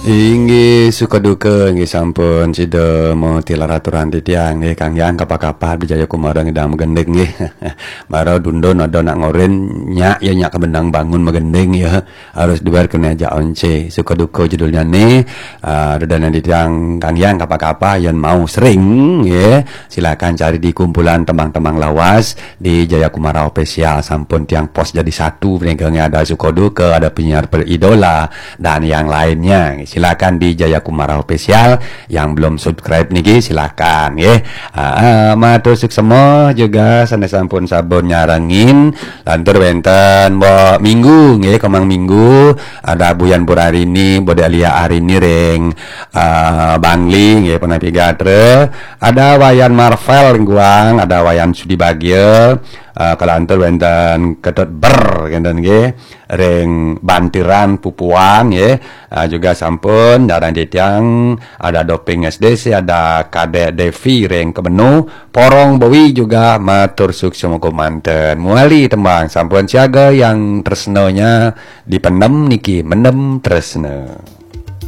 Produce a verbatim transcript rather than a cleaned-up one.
Inggih, suka duka inggih sampun sida matilar aturan titiang nggih, Kang Yang kapah-kapah Jaya Kumara ngidang magending nggih. Mara dundun ada nak ngorin nyak ya nyak kebendang bangun magending ya. Harus duar kena ajak once. Suka duka judulnya ni. Uh, dana titiang Kang Yang kapah-kapah yang mau sering ya. Silakan cari di kumpulan tembang-tembang lawas di Jaya Kumara Official, sampun tiang pos jadi satu, penegangnya ada suka duka, ada penyiar peridola dan yang lainnya. Silakan di Jaya Kumara Official, yang belum subscribe niki silakan ya. Ah, ah, matur suksema juga sanes sampun sabun nyarengin. Lantur wenten Mbok Minggu nggih, Komang Minggu, ada Buyan Purarini, Bode Alia Arini ring ah, Bangli nggih, Penapi Gatra. Ada Wayan Marvel ring Guang, ada Wayan Sudi Bagia, ah, kalantur wenten Ketut Ber ngenten nggih, ring Bantiran Pupuan nggih. Ah, juga sampun darang titiang, ada Doping S D C, ada Kadek Devi ring Kebenu, Porong Bowi juga matur suksema gumanten. Muali tembang sampun siaga yang tresnanya dipendem niki mendem tresna.